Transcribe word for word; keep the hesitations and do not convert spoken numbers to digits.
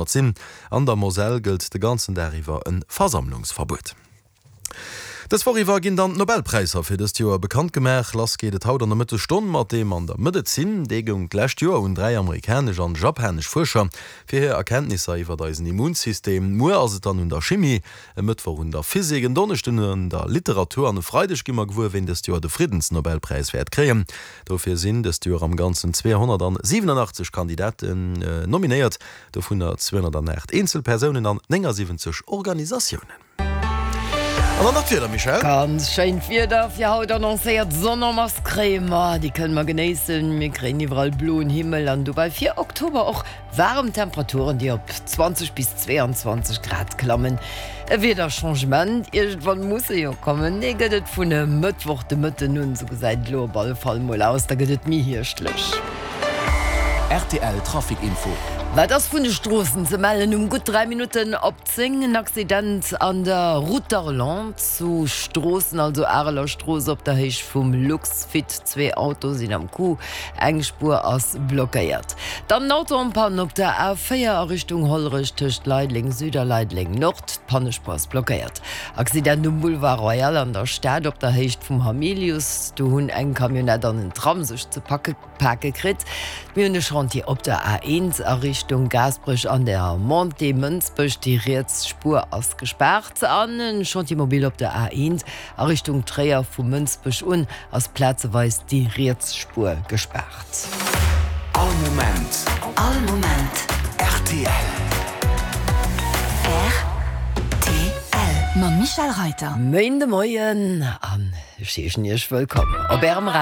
Sinn. An der Moselle gëllt de ganzen Dag iwwer e Versammlungsverbuet. Dës Woch iwwer ginn dann d'Nobelpräisser fir dëst Joer bekannt gemaach. Lass geet et haut an der Mëttesstonn mat deem an der Medezin. Dee goung d'lescht Joer un dräi amerikanesch an japanesch Fuerscher fir hir Erkenntnisser iwwert eisen Immunsystem. Muer ass et dann un der Chimie, e Mëttwoch un der Physik, en Donneschden un der Literatur an e Freideg gi mer gewuer, ween dëst Joer de Friddensnobelpräis wäert kréien. Dofir sinn dëst Joer am Ganzen zweehonnertsiwwenenachtzeg Kandidaten nominéiert, dovunner zweehonnertaacht Eenzelpersounen an néngasiwwenzeg Organisatiounen. An dann nach d'Wieder, Michèle. Ganz schéint Wieder fir haut annoncéiert, Sonn en masse kréie mer, déi kënne mer genéissen. Mir kréien iwwerall bloen Himmel an dobäi fir Oktober och waarem Temperaturen, déi op zwanzeg bis zweeanzwanzeg Grad klammen. E Wiederchangement, iergendwann muss e jo kommen, dee gëtt et vun e Mëttwoch de Mëtten un, sou gesäit et elo op alle Fall mol aus, da gëtt et méi hierschtlech. Rtl Trafic Info. Wat ass vun de Stroossen ze mellen? Um gutt dräi Minutten op zéng en Accident an der Route d'Arlon zu Stroossen, also Areler Strooss op der Héicht vum Luxfit. Zwee Autoe sinn am Coup, eng Spuer ass blockéiert. Dann en Auto en panne op der A véier a Richtung Hollerech tëscht Leideleng Süd a Leideleng Nord. D'Pannespuer ass blockéiert. Accident um Boulevard Royal an der Stad op der Héicht vum Hamilius. Do hunn eng Camionnette an en Tram sech ze packe pake kritt. Mir hunn e Chantier op der A eent a Richtung Gaasperech an der Montée Mënsbech, déi riets Spuer ass gespaart. An e Chantier mobile op der A eent a Richtung Tréier, vu Mënsbech un ass plazeweis déi riets Spuer gespaart. All Moment. All Moment. Rtl. Rtl. Mam Michèle Reiter. Méinde Moien an ech heeschen Iech wëllkomm op Ärem Radio.